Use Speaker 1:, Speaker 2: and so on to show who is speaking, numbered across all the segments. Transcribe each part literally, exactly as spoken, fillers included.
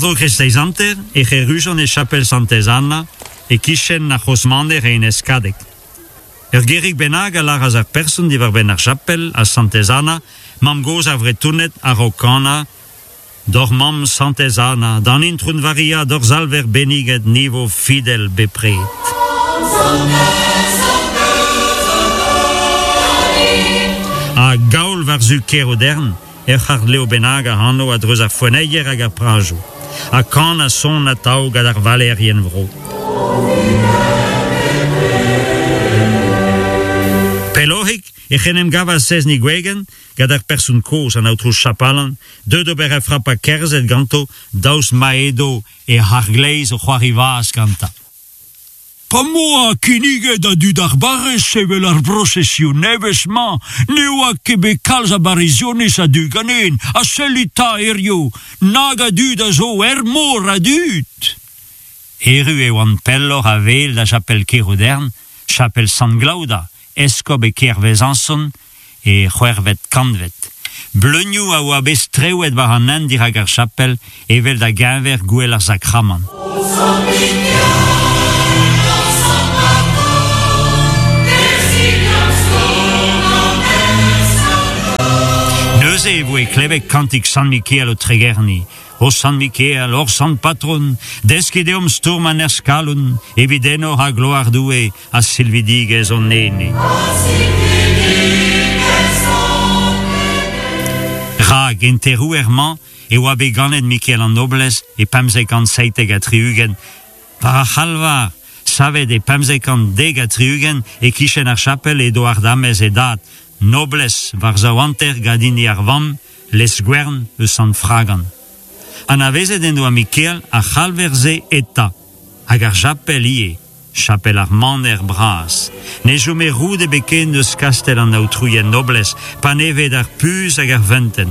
Speaker 1: War-dro kreisteiz hanter ec'h errujont e chapel Santez Anna, e-kichen ar c'hozh-maner e Enez Kadeg. Ur gerig bennak a lâras ar person diwar-benn ar chapel ha Santez Anna, mamm-gozh ar Vretoned a-raok kanañ, D'hor mamm Santez Anna, d'an Intron Varia, d'hor Salver benniget, ni vo fidel bepred. Ha gaol war-zu Kerodern, ur c'hardlev bennak ac'hano a-dreuz ar foenneier hag ar prajoù. Ha kan ha son atav gant ar valeerien vro. Pelloc'hik ec'h en em gavas Sezni Gwegen gant ar person kozh an aotrou Chapalan, deuet d'ober ur frapad kerzhed ganto daoust ma edo e c'har-gleiz o c'hoari vazh gantañ.
Speaker 2: Pa 'm boa kinniget da dud ar barrez sevel ar brosesion nevez-mañ, ne oa ket bet kalz a barrizioniz a-du ganin, ha sellit 'ta hiziv, nag a dud a zo er mor a dud!
Speaker 1: Erru e oant pelloc'h a-wel da chapel Kerodern, chapel Sant Glaoda, eskob e kêr Vezañson e c'hwec'hvet kantved. Bleunioù a oa bet strewet war an hent dirak ar chapel evel da geñver gouel ar Sakramant. Neuze e voe klevet kantik Sant Mikael o tregerniñ. O Sant Mikael, hor sant patron, deskit deomp stourm a nerzh-kalon, evit enor ha gloar Doue ha silvidigezh hon ene. Rak en terouer-mañ e oa bet ganet Mikael an Noblez e pemzek kant seitek ha tri-ugent. War ar c'halvar, savet e pemzek kant dek ha tri-ugent e-kichen ar chapel edo ardamez e dad, Noblez war zaou hanter gant hini ar vamm, Lesguern eus Sant Fragan. Anavezet en doa Mikael ar c'halver-se eta, hag ar chapel ivez, chapel ar maner bras. Ne chome roud ebet ken eus kastell an aotrouien Noblez, panevet ar puñs hag ar feunteun.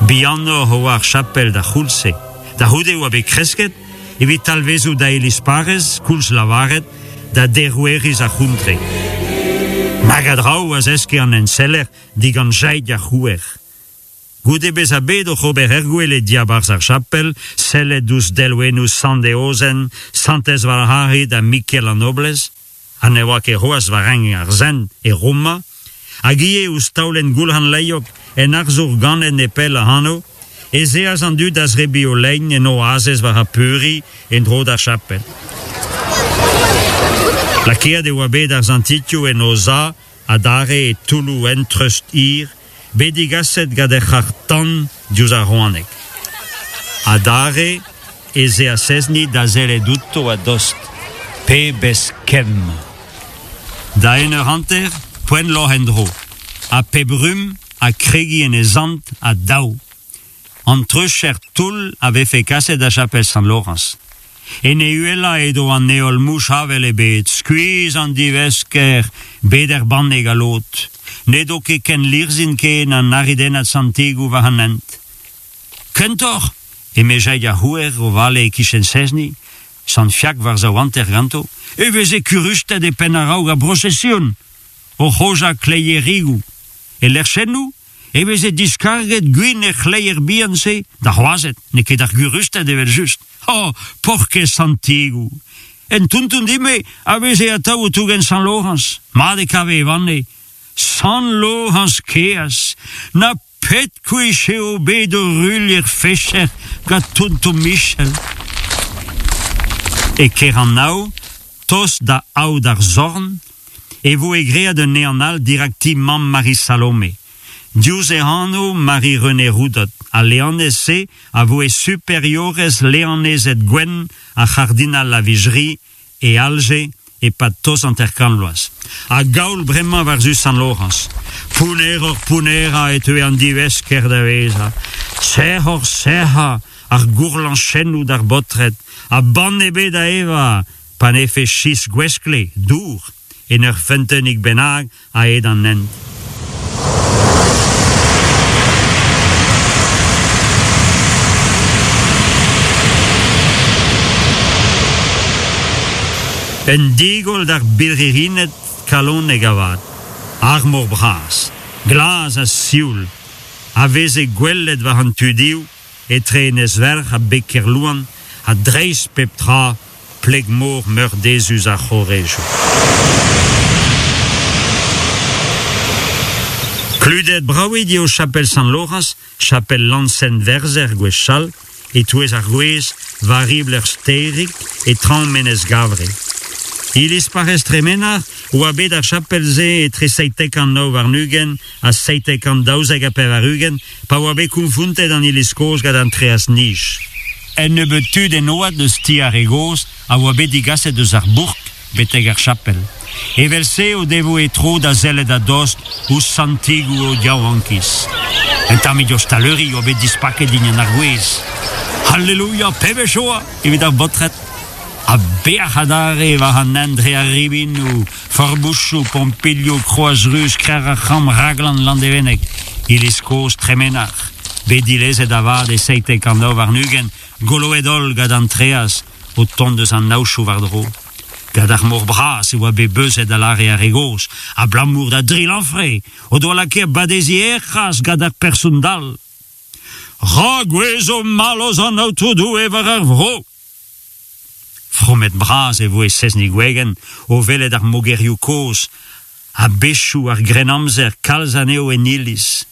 Speaker 1: Bihanoc'h e oa ar chapel d'ar c'houlz-se. Da c'houde e oa bet kresket, evit talvezout da iliz parrez, koulz lavaret, da deroueriz ar c'hontre. Nag a draoù a zeske an enseller digant Jaig ar C'houer. Goude bezañ bet oc'h ober er gwel e diabarzh ar chapel, sellet ouzh delwennoù Sant Eozen, Santez Valharid ha Mikael an Noblez, ha ne oa ket c'hoazh war renk ar sent e Roma, hag ivez ouzh taolenn Goulc'han Lailhog en arzour ganet nepell ac'hano, ez eas an dud da zebriñ o lein en o azez war ar peuriñ en-dro d'ar chapel. Lakaet e oa bet ar santitioù en o za adarre e toulloù en treust hir, bet digaset gant ur c'harr-tan diouzh ar Rouaneg. Adarre ez eas Sezni da sellet outo a-dost. Pebezh kemm! Da un eur hanter, poent loc'h en-dro. Ha pep rumm ha kregiñ en e zant ha daou. An treucher toull a vefe kaset da chapel Sant-Lorañs. En e uhelañ edo an heol mouch avel ebet, skuizh an divesker, bet er banne galot. N'edo ket ken lirzhin ken an aridennad santigoù war an hent. Kentoc'h, eme Jaig ar C'houer o vale e-kichen Sezni, Sant Fiak war zaou hanter ganto, e veze kurusted e penn a-raok ar brosesion, o c'hojañ kleierigoù. E lec'chennoù e veze diskarget gwin er c'hleier bihan-se, d'ar wazed, n'eo ket d'ar gurusted evel-just. Oh, paourkaezh santigoù! En tonton din-me a veze atav o tougen Sant Lorañs, mat e kave e vanne. Sant Lorañs kaezh, na pet kwech eo bet o ruilh er fecher gant tonton Michel. E Keranav, tost da aod ar Zorn, e voe graet un ehan all dirak ti mamm Marie Salome. Diouzh e anv Marie-Renée Roudot, al leanez-se a voe superiorez leanezed gwenn ar c'hardinal Lavigerie e Alje e-pad tost hanter-kant vloaz. Ha gaol bremañ war-zu Sant-Lorañs. Pounneroc'h-pounnerañ e teue an divesker da vezañ. Sec'hoc'h-sec'hañ ar gourlañchennoù d'ar baotred, ha banne ebet da evañ, pa 'nefe chistr gweskle, dour, en ur feunteunig bennak a-hed an hent. Un digoll d'ar birc'hirined kalonek avat, ar mor bras, glas ha sioul, a veze gwelet war an tudioù etre Enez-Werc'h ha beg Kerlouan, ha dreist pep tra pleg-mor meurdezus ar c'horejoù. Kludet braouet eo chapel Sant-Lorañs, chapel Lansen-Verzer gwechall, e-touez ar gwez war ribl ur stêrig e traoñ Menez Gavre. Iliz parrez Tremenac'h oa bet ar chapel-se etre seitek kant nav warn-ugent ha seitek kant daouzek ha pevar-ugent pa oa bet konfontet an iliz kozh gant an traezh-nij. Un nebeud tud en oad eus ti ar re gozh a oa bet digaset eus ar bourk betek ar chapel. Evel-se o devoe tro da sellet a-dost ouzh santigoù o yaouankiz. Un tammig ostaleri oa bet dispaket dindan ar gwez. Halleluia, pebezh joa evit ar baotred! Ha bec'h adarre war an hent dre ar ribinoù, forbouchoù, pompilhoù, Kroaz Ruz, Krec'h ar C'hramm, Raglan, Landevenneg, iliz kozh Tremenac'h, bet dilezet avat e seitek kant nav warn-ugent, goloet-holl gant an traezh o tont eus an aochoù war-dro. Gant ar mor bras e oa bet beuzet a lâre ar re gozh, abalamour da dri lanfre o doa lakaet badeziñ er c'hras gant ar person dall. Ra gouezho mallozh an Aotrou Doue war ar vro! Fromet bras e voe Sezni Gwegen o welet ar mogerioù kozh ha bezioù ar Grennamzer kalz anezho en iliz.